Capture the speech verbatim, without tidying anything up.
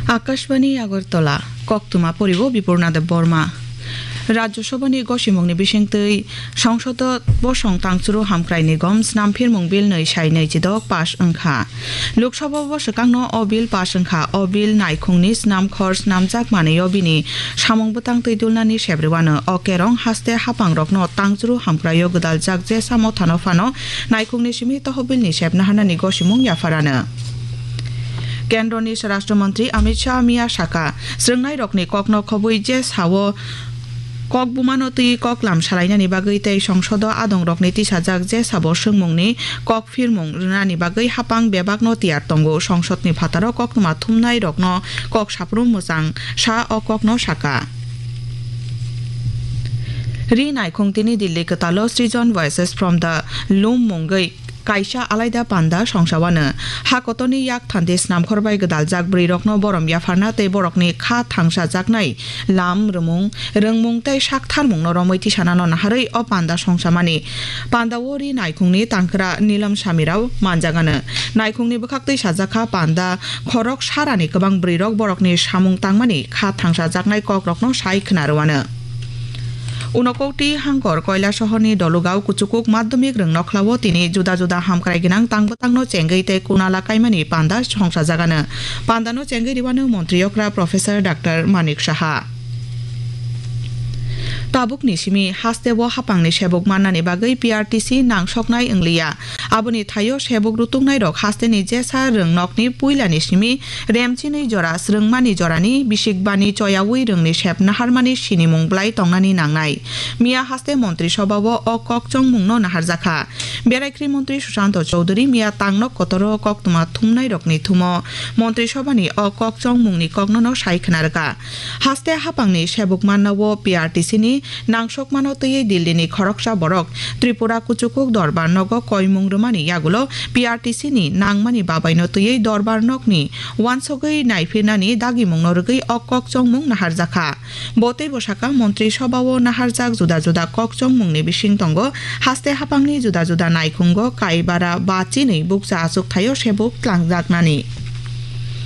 Akashbani Agartala, koktwma poribo Bipurna Debbarma. Rajya Sabhani gosimungni bisingtwi Songsodo bosong tangchuru hamkrai nigom snamphirmung bill nwi sai nwi chidok pass wngkha. Lok Sabha o swkangno o bill pass wngkha. O bill naikhungni snamkhor snamjak manwi o bini samung bwtang twi dulnani sep rwano. O kerong haste hapangrokno tangchuru hamkraio gwdaljak jesa mothano phano naikhungni simi tohobilni sep naharnani gosimung yapharano. Kendroni Swarashtra Mantri Amit Shah miya saka, swrwngnairokni kokno khobwi je sao kok bumano twi koklam salainani bagwi tei Songsodo adongrokni tisajak je sabo swngmungni kok phirmung rwnani bagwi hapang bebakno tiyar tongo. Songsodni phataro koktwma thumnairokno kok saphuru mwchang sa o kokno saka. Ri naikhung tini Delhi kwtalo Srijan Voices from the Loom mungwi kaisa alaida panda songsa wano. Ha kotorni yak thandi snamkhor bai gwdaljak bwrwirokno borom yapharna tei borokni kha thangsajaknai lam, rwmung, rwngmung tei saktharmungno romwi tisanano naharwi o panda songsamani. Pandao ri naikhungni tangkra Nilam Samirao manjagano. Naikhungni bwkhaktwi sajakha panda khorok sarani kwbang bwrwirok borokni samung tangmani kha thangsajaknai kokrokno sai khna rwano. Unakoti Hangkor Koilasohorni Dolugao Kuchukuk Madhyamik Rwngnokhlao tini juda juda hamkrai gwnang tang bwtangno chengwi tei kunala kaimani panda songsajagano. Pandano chengwi rwano Montri Okra Professor Doctor Manik Saha. Tabukni simi hasteo hapangni sebuk mannani bagwi P R T C nangsoknai wngliya. Aboni thaio sebuk rutuknairok hasteni jesa rwngnokni puilani simi remchinwi jora swrwngmani jorani bisikbani choyawi rwngni sep naharmani sinimung bwlai tongnani nangnai. Miya haste Montri Sobhao o kok chongmungno naharjakha. Beraikri Montri Sushanta Chowdhury miya tangnok kotoro koktwma thumnairokni thumo Montri Sobhani o kok chongmungni koknono sai khna rwkha. Haste hapangni sebuk mannao P R T C ni nangsokmano twiwi Delhi ni khoroksa borok Tripura Kuchukuk Dorbar nogo koimung rwmani yagulo P R T C ni nangmani babaino twiwi Dorbar nokni wansogwi naiphinani dagimungno rwgwi o kok chongmung naharjakha. Bo teibo saka Montri Sobhao naharjak juda juda kok chongmungni bising tongo haste hapangni juda juda naikhungo kaibara ba chinwi bukcha achuk thaio sebuk tlangjaknani.